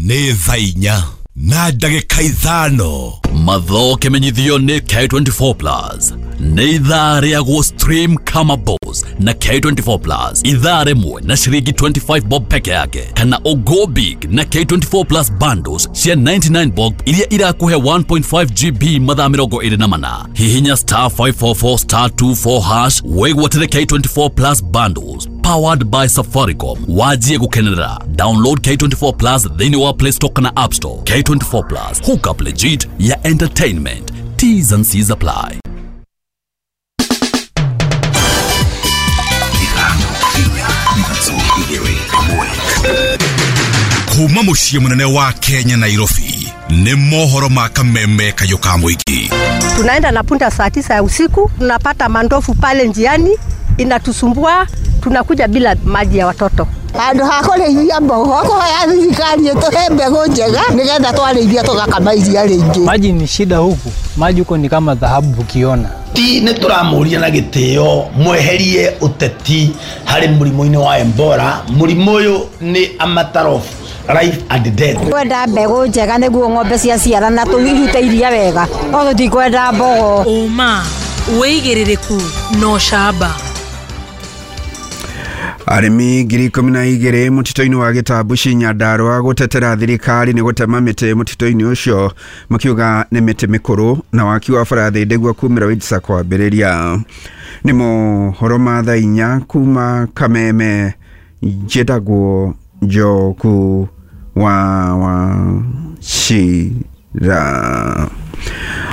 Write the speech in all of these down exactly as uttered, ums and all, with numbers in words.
Nĩ thaa inya na ndagĩka ithano. Mathoke menyithio nĩ K twenty-four Plus. Nĩ ithaa rĩa gũ stream kama boss na K twenty-four Plus. Ithaa rĩmwe na ciringi twenty-five bob peke yake, kana o go big na K twenty-four Plus bundles cia ninety-nine bob iria irakuhe one point five G B mathaa mĩrongo ĩrĩ na mana. Hihinya star five four four star two four hash wĩgwatĩre K twenty-four Plus bundles powered by Safaricom. Wajie gukenerera. Download K twenty-four Plus thĩinĩ wa Play Store kana App Store. K twenty-four Plus, hook up legit ya entertainment. T's and C's apply. Kuma muciĩ mũnene wa Kenya Nairobi nĩ mohoro ma kameme kayũ ka mũingĩ. Tunaenda na punda saa tisa ya usiku, tunapata mandofu pale njiani inatusumbua, tunakuja bila maji ya watoto. Handũ ha kũrĩithia mbogo kũhoya thirikari ĩtũhe mbegũ njega nĩgetha twarĩithia tũgakama iria rĩingĩ. Maji ni shida huku, maji huko ni kama dhahabu ukiona. Ti nĩ tũramũria na gĩtĩo mweherie ũteti harĩ mũrimũ-inĩ wa Ebola. Mũrimũ ũyũ nĩ a matter of life and death. Kwenda mbegũ njega nĩguo ng'ombe ciaciarana tũrute iria wega, no tũtikwenda mbogo. Ũma wĩigĩrĩrĩku no camba. Arĩmi ngiri ikũmi na igĩrĩ mũtitũ-inĩ wa Gĩtambuci Nyandarũa gũtetera thirikari nĩ gũtema mĩtĩ mũtitũ-inĩ ũcio, makiuga nĩ mĩtĩ mĩkũrũ na waki wa bara Thĩndĩgua kumĩra Witsa kwambĩrĩria. Nĩ mohoro ma thaa inya kuma Kameme, njĩtagwo Njoku wa Wachira.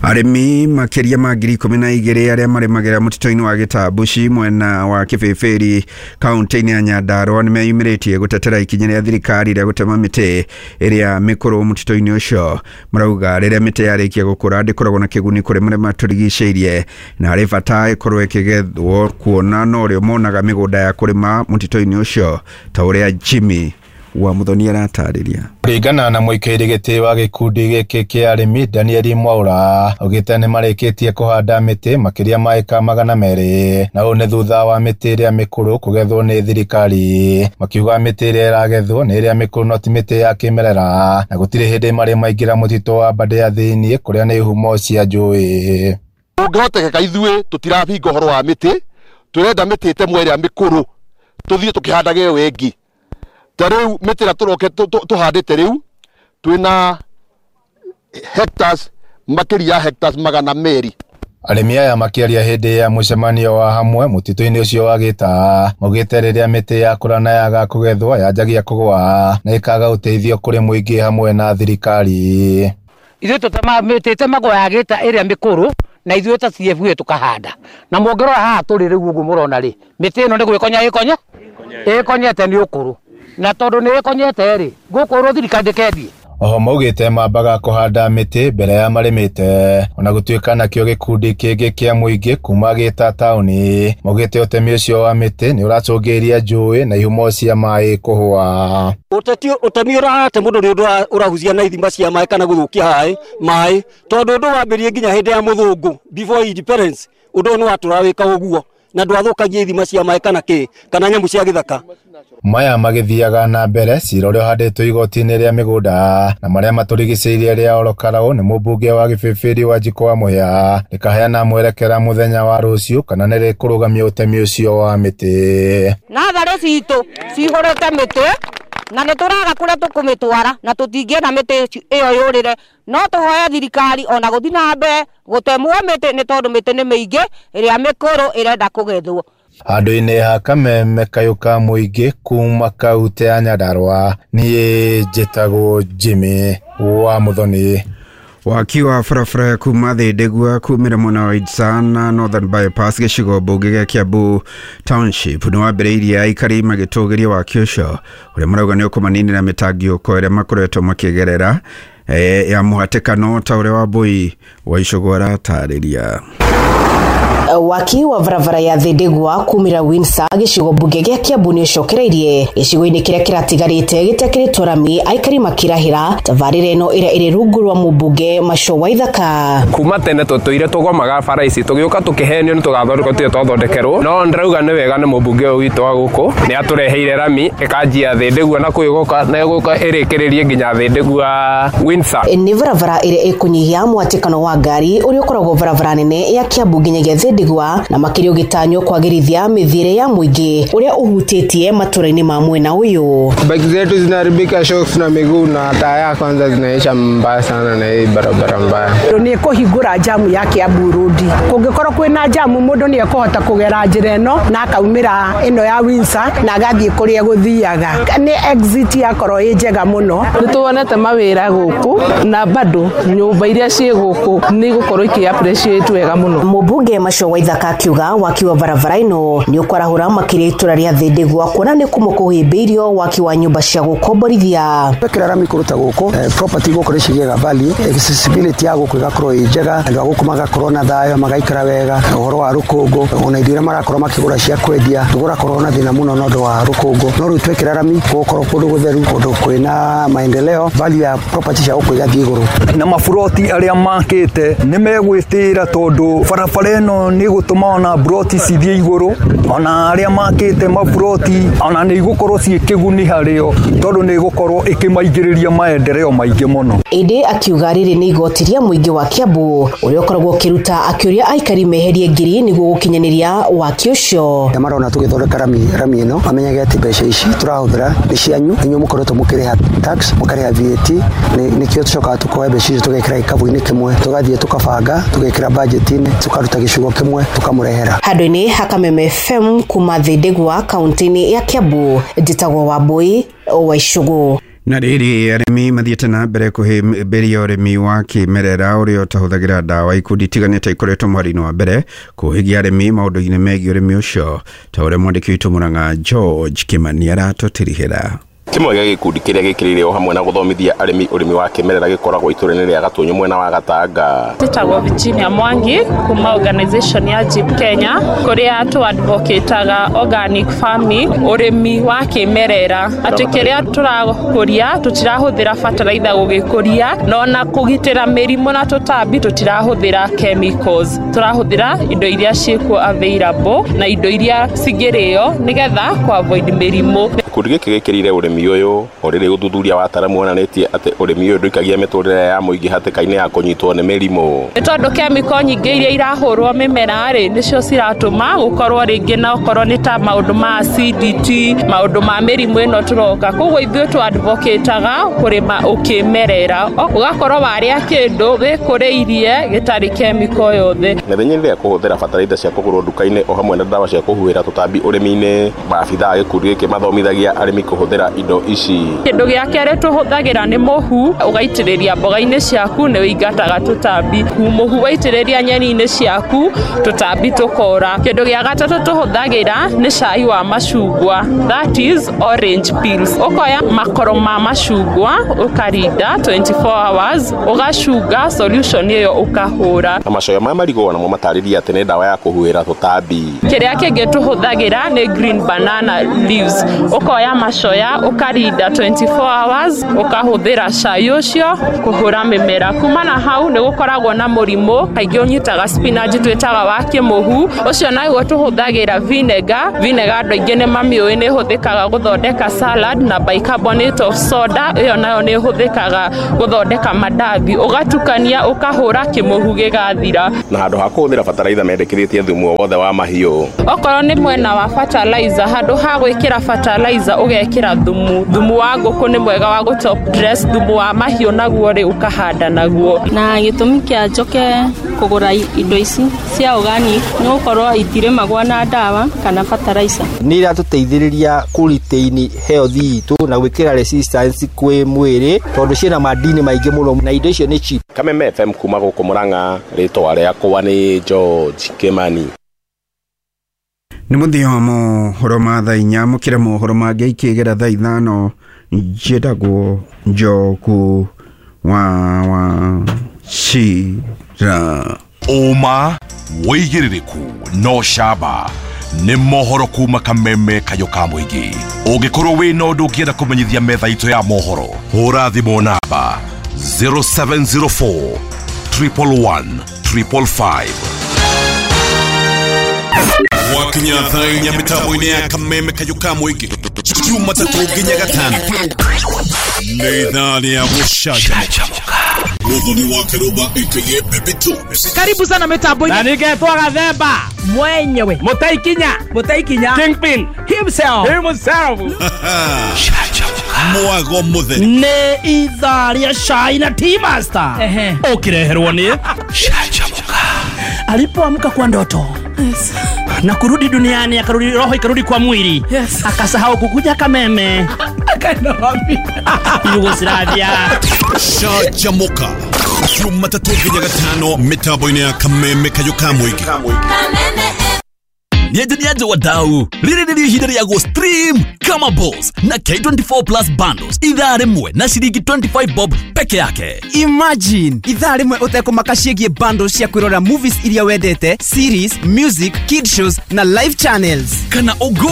Arĩmi makĩria ma ngiri ikũmi na igĩrĩ arĩa marĩmagĩra mũtitũ-inĩ wa Gĩtambuci mwena wa Kĩbĩbĩri kaunti-inĩ ya Nyandarũa nĩmeyumĩrĩtie gũtetera ikinya rĩa thirikari rĩa gũtema mĩtĩ ĩrĩa mĩkũrũ mũtitũ-inĩ ũcio. Marauga rĩrĩa mĩtĩ yarĩkia gũkũra ndĩkoragwo na kĩguni kũrĩ marĩa matũrigicĩirie na harĩ bata ĩkorwo ĩkĩgethwo kuona no rĩo monaga mĩgũnda ya kũrĩma mũtitũ-inĩ ũcio, ta ũrĩa Jimmy wa Muthoni aratarĩria. Kũringana na mũikairi gĩtĩ wa gĩkundi gĩkĩ kĩa arĩmi Daniel Mwaura, augĩte nĩmarĩkĩtie kũhanda mĩtĩ makĩria ma ĩka magana merĩ, na ũũ nĩ thutha wa mĩtĩ ĩrĩa mĩkũrũ kũgethwo nĩ thirikari. Makiuga mĩtĩ ĩrĩa ĩragethwo nĩ ĩrĩa mĩkũrũ no ti mĩtĩ ya kĩmerera, na gũtirĩ hĩndĩ marĩ maingĩra mũtitũ wa Aberdare thĩinĩ kũrĩa nĩ ihumo cia njũĩ. Ũngĩhotekeka ithuĩ tũtirabinga ũhoro wa mĩtĩ, tũrenda mĩtĩ ĩtemwo ĩrĩa mĩkũrũ tũthiĩ tũkĩhandaga ĩyo ĩngĩ. Ta rĩu mĩtĩ ĩrĩa tũroke tũhandĩte rĩu twĩna hectares makĩria ya hectares magana merĩ. Arĩmi aya makĩaria hĩndĩ ya mũcemanio wa hamwe mũtitũ-inĩ ũcio wa Gĩta, maugĩte rĩrĩa mĩtĩ yakũra na yaga kũgethwo yanjagia kũgũa na ĩkaga ũteithio kũrĩ mũingĩ hamwe na thirikari. Ithuĩ tũtemaga mĩtĩ ĩtemagwo ya Gĩta ĩrĩa mĩkũrũ na ithuĩ ta C F U tũkahanda, na mũngĩrora haha tũrĩ rĩu ũguo mũrona rĩ, mĩtĩ ĩno nĩ gwĩkonya ĩkonya ĩkonyete nĩ ũkũrũ, na tondũ nĩ ĩkonyete rĩ, gũkũrũ thirikari ndĩkendie. Oho maugĩte mambaga kũhanda mĩtĩ mbere ya marĩmĩte, ona gũtuĩka nakĩo gĩkundi kĩngĩ kĩa mũingĩ kuma Gĩta taũni maugĩte ũtemi ũcio wa mĩtĩ nĩ ũracũngĩrĩria njũĩ na ihumo cia maĩ kũhũa. Ũteti ũtemi ũrahate mũndũ nĩ ũndũ ũrahucia na ithima cia maĩ kana gũthũkia maĩ, tondũ ũndũ wambĩrĩrie nginya hĩndĩ ya mũthũngũ before independence, ũndũ ũyũ nĩ watũra wĩka ũguo na ndwathũkagia ithima cia maĩ kana kĩ kana nyamũ cia gĩthaka. Maya magĩthiaga na mbere cira ũrĩa ũhandĩtwo igoti-inĩ rĩa mĩgũnda na marĩa matũrigicĩirie rĩa Olokarau nĩ mũmbunge wa Gĩbĩbĩri Wanjikũ wa Mũhĩa rĩkaheana mwerekera mũthenya wa rũciũ kana nĩ rĩkũrũgamia ũtemi ũcio wa mĩtĩ. Natharĩ citũ cihũrĩte mĩtĩ na nĩ tũraga kũrĩa tũkũmĩtwara na tũtingĩenda mĩtĩ ĩyo yũrĩre, no tũhoe thirikari ona gũthiĩ na mbere gũtemwo mĩtĩ nĩ tondũ mĩtĩ nĩ mĩingĩ ĩrĩa mĩkũrũ ĩrenda kũgethwo. Handũ-inĩ ha Kameme kayũ ka mũingĩ kuma kaunti ya Nyandarũa, niĩ njĩtagwo Jimmy wa Muthoni. Waki wa barabara kuma Thĩndĩgua kumĩra mwena wa Itsa na Northern Bypass gĩcigo mbunge gĩa Kiambu Township nĩ wambĩrĩirie aikari magĩtũgĩria waki ũcio ũrĩa marauga nĩ ũkũmaninĩra mĩtangĩko ĩrĩa makoretwo makĩgerera ya mũhatĩkano ta ũrĩa Wambui wa Icũgũ aratarĩria. Waki wa barabara ya Thindigua kumira Windsor gĩcigo mbunge gĩa Kiambu nĩ ũcokereirie gĩcigo-inĩ kĩrĩa kĩratigarĩte gĩtekĩrĩtwo rami aikari makirahĩra tabarĩra ĩno ĩrĩa ĩrĩ rungu rwa mũmbunge Macho Waithaka. Kuma tene tũtũire tũgomaga bara ici tũgĩũka tũkĩhenio nĩ tũgathondekwo tũtirĩ twathondekerwo, no ndĩrauga nĩ wega nĩ mũmbunge ũyũ witũ wa gũkũ nĩ atũreheire rami ĩkanjia Thindigua na kũu ĩgũka na ĩgũka ĩrĩkĩrĩrie nginya Thindigua Windsor. Nĩ barabara ĩrĩa ĩkũnyihia mwatĩkano wa ngari ũrĩa ũkoragwo barabara nene ya Kiambu nginyagia Thindigua na makĩria ũgĩtanywo kwagĩrithia mĩthiĩre ya mũingĩ ũrĩa ũhutĩtie matũra-inĩ ma mwena ũyũ. Bike zetu zinaharibika shocks na miguu na taya kwanza zinaisha mbaya sana na hii barabara mbaya. Nĩ kũhingũra jamu ya Kiambu Road. Kũngĩkorwo kwĩna jamu mũndũ nĩ ekũhota kũgera njĩra ĩno na akaumĩra ĩno ya Windsor na agathiĩ kũrĩa gũthiaga. Nĩ exit yakorwo ĩ njega mũno. Nĩ tuonete mawĩra gũkũ na bado nyũmba iria ciĩ gũkũ nĩ igũkorwo ikĩ appreciate wega mũno. Mũmbunge Macho Waithaka akiuga waki wa barabara ĩno nĩ ũkwarahũra makĩria itũra rĩa Thindigua kuona nĩ kũmwe kũhĩmbĩirio waki wa nyũmba cia gũkomborithia. Twekĩra rami kũruta gũkũ property gũkũ nĩ cigĩaga value, accessibility ya gũkũ ĩgakorwo ĩ njega, andũ a gũkũ magakorwo na thayũ magaikara wega, ũhoro wa rũkũngũ ona indo iria marakorwo makĩgũra cia kwendia tũgũrakorwo na thĩna mũno na ũndũ wa rũkũngũ, no rĩu twekĩra rami gũgũkorwo kũndũ gũtheru, kũndũ kwĩna maendeleo, value ya property cia gũkũ igathiĩ igũrũ. Na maburoti arĩa makĩte nĩ megwĩtĩra tondũ barabara ĩno nĩ ĩgũtũma ona buroti cithiĩ igũrũ, ona arĩa makĩte maburoti ona nĩ igũkorwo ciĩ kĩguni harĩo tondũ nĩ ĩgũkorwo ĩkĩmaingĩrĩria maendeleo maingĩ mũno. Ĩndĩ akiuga rĩrĩ nĩ igoti rĩa mũingĩ wa Kiambu ũrĩa ũkoragwo ũkĩruta akĩũria aikari meherie ngiri nĩguo gũkinyanĩria waki ũcio. Marona tũgĩthondeka rami rami ĩno mamenyage atĩ mbeca ici tũrahũthĩra nĩ cianyu, inyuĩ mũkoretwo mũkĩrĩha tax mũkarĩha V A T, nĩkĩo tũcokaga tũkoya mbeca icio tũgekĩra gĩkabũ-inĩ kĩmwe tũgathiĩ tũkabanga tũgekĩra budget-inĩ tũkaruta gĩcigo kĩmwe tũkamũrehera. Handũ-inĩ ha Kameme F M kuma Thindigua kaunti-inĩ ya Kiambu, njĩtagwo Wambui wa Icũgũ. Na rĩrĩ arĩmi mathiĩte na mbere kũhĩmbĩria ũrĩmi wa kĩmerera ũrĩa ũtahũthagĩra ndawa. Ikundi itiganĩte ikoretwo mweri-inĩ wa mbere kũhĩgia arĩmi maũndũ-inĩ megiĩ ũrĩmi ũcio ta ũrĩa mwandĩki witũ Mũrang'a George Kimani aratũtirihĩra. Kĩmwe gĩa gĩkundi kĩrĩa gĩkĩrĩire o hamwe na gũthomithia arĩmi ũrĩmi wa kĩmerera gĩkoragwo itũra-inĩ rĩa Gatũnyũ mwena wa Gatanga. Njĩtagwo Virginia Mwangi kuma organization ya Jeep Kenya kũrĩa tũ advocataga organic farming, ũrĩmi wa kĩmerera, atĩ kĩrĩa tũrakũria tũtirahũthĩra fertilizer gũgĩkũria na ona kũgitĩra mĩrimũ na tũtambi tũtirahũthĩra chemicals, tũrahũthĩra indo iria ciĩkuo available na indo iria cingĩrĩo nĩgetha kũ avoid mĩrimũ. Gĩkundi gĩkĩ gĩkĩrĩire ũrĩmi ũyũ o rĩrĩ ũthuthuria wa ataaramu wonanĩtie atĩ ũrĩmi ũyũ ndũikagia mĩtũrĩre ya mũingĩ hatĩka-inĩ ya kũnyitwo nĩ mĩrimũ. Nĩ tondũ chemical nyingĩ iria irahũrwo mĩmera rĩ nĩcio ciratũma gũkorwo rĩngĩ na okorwo nĩ ta maũndũ ma acidity, maũndũ ma mĩrimũ ĩno tũroka, koguo ithuĩ tũ advocataga kũrĩma ũkĩmerera, ũgakorwo warĩa kĩndũ wĩkũrĩirie gĩtarĩ chemical yothe. Mĩthenya-inĩ ya kũhũthĩra bataraitha cia kũgũrwo nduka-inĩ o hamwe na ndawa cia kũhuhĩra tũtambi ũrĩmi-inĩ, maabithaa a gĩkundi gĩkĩ mathomithagia arĩmi kũhũthĩra indo ici. Kĩndũ gĩa kerĩ tũhũthagĩra nĩ mũhu, ũgaitĩrĩria mboga-inĩ ciaku nĩ ũingataga tũtambi, mũhu waitĩrĩria nyeni-inĩ ciaku tũtambi tũkora. Kĩndũ gĩa gatatũ tũhũthagĩra nĩ cai wa macungwa, that is orange peels, ũkoya makoro ma macungwa ũkarinda twenty-four hours ũgacunga solution ĩyo ũkahũra. Na macoya ma marigũ namo matarĩria atĩ nĩ ndawa ya kũhuhĩra tũtambi. Kĩrĩa kĩngĩ tũhũthagĩra nĩ green banana leaves, ũkoya macoya ũkarinda twenty-four hours ũkahũthĩra cai ũcio kũhũra mĩmera. Kuma na hau nĩ gũkoragwo na mũrimũ kaingĩ ũnyitaga spinach twĩtaga wa kĩmũhu, ũcio naguo tũhũthagĩra vinegar. Vinegar andũ aingĩ nĩ mamĩũĩ nĩ ĩhũthĩkaga gũthondeka salad, na bicarbonate of soda ĩyo nayo nĩ ĩhũthĩkaga gũthondeka mandathi, ũgatukania ũkahũra kĩmũhu gĩgathira. Na handũ ha kũhũthĩra bataraitha mendekithĩtie thumu o wothe wa mahiũ. Okorwo nĩ mwena wa fertilizer, handũ ha gwĩkĩra fertilizer ũgekĩra thumu. Thumu wa ngũkũ nĩ mwega wa gũ top dress, thumu wa mahiũ naguo rĩ ũkahanda naguo. Na gĩtũmi kĩa njoke kũgũra indo ici cia organic nĩ gũkorwo itirĩmagwo na ndawa kana fertilizer. Nĩ iratũteithĩrĩria kũ retain health itũ na gwĩkĩra resistance kwĩ mwĩrĩ tondũ ciĩna madini maingĩ mũno na indo icio nĩ cheap. Kameme F M kuma gũkũ Murang'a, rĩtwa rĩakwa nĩ George Kimani. Nĩ mũthia wa mohoro ma thaa inya, mũkĩra mohoro mangĩ ikĩgera thaa ithano. Njĩtagwo Njoku wa wa Cira. Ũma Wĩigĩrĩrĩku no camba. Nĩ mohoro kuma kameme kayũ ka mũingĩ. Ũngĩkorwo wĩna ũndũ ũngĩenda kũmenyithia metha itũ ya mohoro, hũra thimũ namba zero seven zero four triple one triple five. Wakinya thaa inya mĩtambo-inĩ ya kameme kayũ ka mũingĩ Jumatatũ nginya gatano nĩ ithaa rĩa gũcanjamũka. Muthoni wa Kiruba aka Baby Tubes. Karibu sana mitambo-inĩ. Na ningetwo Gathemba mwenyewe, Mũtaikinya, Mũtaikinya Kingpin himself, himself. Mwago mutheri nĩ ithaa rĩa cai na tea master ũkĩreherwo nĩ Canjamũka. Alipoamka kwa ndoto, yes, na kurudi duniani, akarudi roho ikarudi kwa mwili, yes, akasahau kukuja kameme akaenda wapi? Yugoslavia. Canjamũka Jumatatũ nginya gatano mĩtambo-inĩ ya kameme kayũ ka mũingĩ. Niaje niaje wadau, rĩrĩ nĩrĩo ihinda rĩa go stream kama boss na K twenty-four plus bundles ithaa rĩmwe na ciringi twenty-five bob peke yake. Imagine ithaa rĩmwe ũtekũmaka ciĩgiĩ bundles cia kwĩrora movies iria wendete, series, music, kid shows na live channels. Kana ũgo